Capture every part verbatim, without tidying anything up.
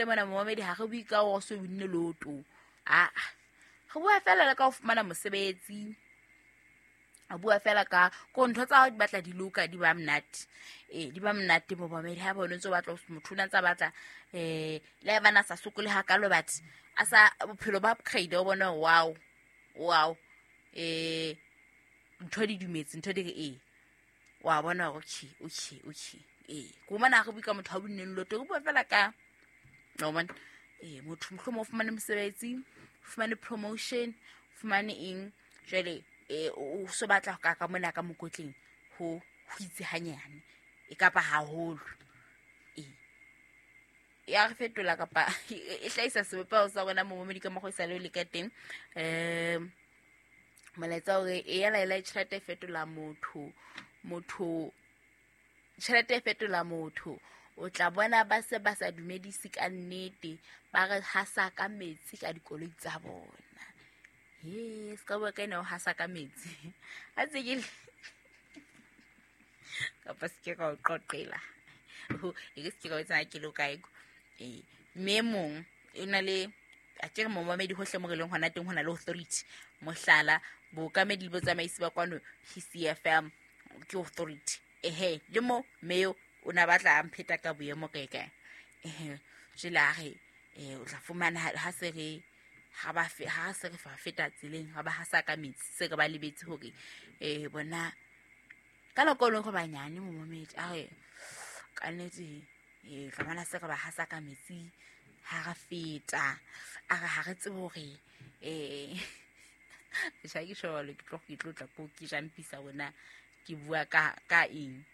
Mona momamedi ha re bue ka hore o so winne lotto, aa, re bua fela le ka ho fumana mosebetsi, a bua fela ka ko ntho tsa hao di batla di loka, di ba monate, ee, di ba monate momamedi. Ha bone ntse o batla, motho o ne ntse a batla um le ha ebane a sa sokole hakalo, but a sa bophelo ba upgrade, o bone wow wow, um ntho di dumetse, ntho di re ee, wa bona hore okay okay okay. Ee, ko mona ha re bue ka motho a winneng lotto, re bua fela ka wa bona, ee, motho mohlomong o fumane mosebetsi, o fumane promotion, o fumane eng, jwale eh o so batla ka ka mona ka mokotleng ho ho itse hanyane e kapa haholo, ee, ya re fetola kapa e hlahisa sebopeho sa rona momamedi ka mokgwa e sa le o le ka teng. Um molaetsa hore e ya laela, tjhelete e fetola motho, motho tjhelete e fetola motho, o tla bona ba se ba sa dumedise ka nnete, ba re hasa ka metsi ka dikoloi tsa bona. He, se ka bua ka ena o hasa ka metsi a tse ke kapa se ke ka o qoqela, e ke se ke ka o etsang ke le kae. Ee, mme e mong e na le a ke re momamedi hohle mo re leng hona teng ho na le authority, mohlala bookamedi le botsamaisi ba kwano P C F M ke authority. Ehe, le mo mme o na batla a mpheta ka boemo kae kae, ehe, jwale a re o tla fumana ha se re ha ba ha se re fa feta tseleng, ha ba hasa ka metsi, se re ba lebetse hore eh bona ka nako e leng gore banyane momamedi a re ka nnete, eh tla bona se re ba hasa ka metsi ha re feta, a re ha re tsebe hore eh tjha ke sholo ke tlo ke tlo tla ko ke jampisa bona ke bua ka ka eng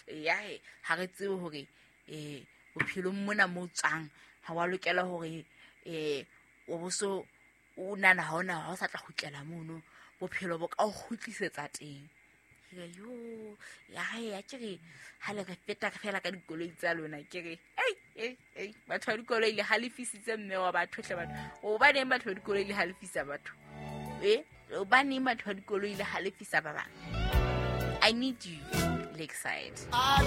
ya ha re tsebe hore eh bophelong mona mo tswang ha wa lokela hore eh o boso o nana ha ona ha o sa tla kgutlela mono, bophelo bo ka o kgutlisetsa teng. Ke yo ya ya ke re ha le re feta fela ka dikoloi tsa lona, ke re ei ei ei batho ba dikoloi le halefisitse mme wa batho hle batho, hobaneng batho ba dikoloi le halefisa batho, eh hobaneng batho ba dikoloi le halefisa ba bang? I need you, Lakeside.